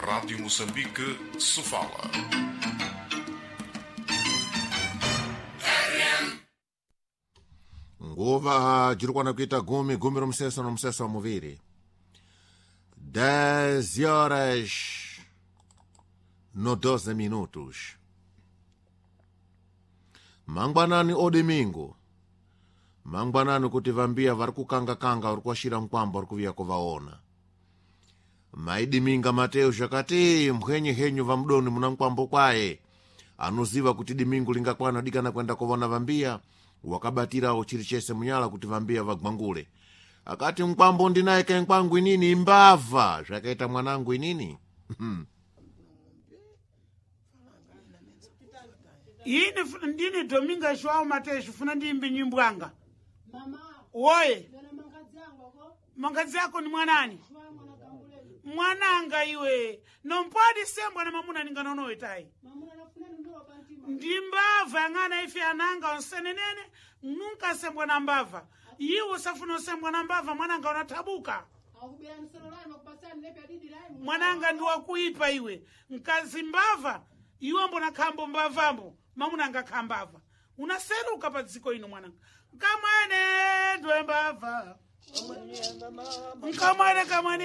Rádio Moçambique, Sofala. Nguva jiri kuwana kuita gumi, gumi romuseso nomuseso wa muviri, 10 horas no 12 minutos. Mangwanani o domingo, mangwanani kuti vambiya vari kukanga-kanga, vari kuwashira mkwambo, vari kuviya kuvaona. Maidiminga Mateo zvakati mbwenye henyu vamudoni muna mkwambo kwaye anoziva kuti dimingu lingakwana dikana kwenda kovona vambiya, wakabatirawo chiri chese munyala kuti vambiya vagwangule. Akati mkwambo ndinaye kenkwangu inini imbava zvakaita mwanangu inini. Ini ndini Domingo Joao Mateus, funa ndiyimbe nyimbo anga. Mama, Woye, ndona mangadzi angu ako, mangadzi ako ni mwanani? Joao mwana kanguleni. Mwananga iwe nompodi sembwa na mamuna ninganonowe tayi. Mamuna nafuna ndowa pantima. Ndi mbava yang'ana ife ananga onsenenene, nunca sembwa na mbava. Iwe usafuna usembwa na mbava, mwananga unathabuka. Akubera nsolo lai makupasani nepe adidi lai. Mwananga ndi wakuipa iwe, mkazi mbava iwe, mbona khambo mbavambo, mamuna anga khambava, unaseruka pa dziko ino mwananga. Nkamwene ndwe mbava, nkamwene kamwene.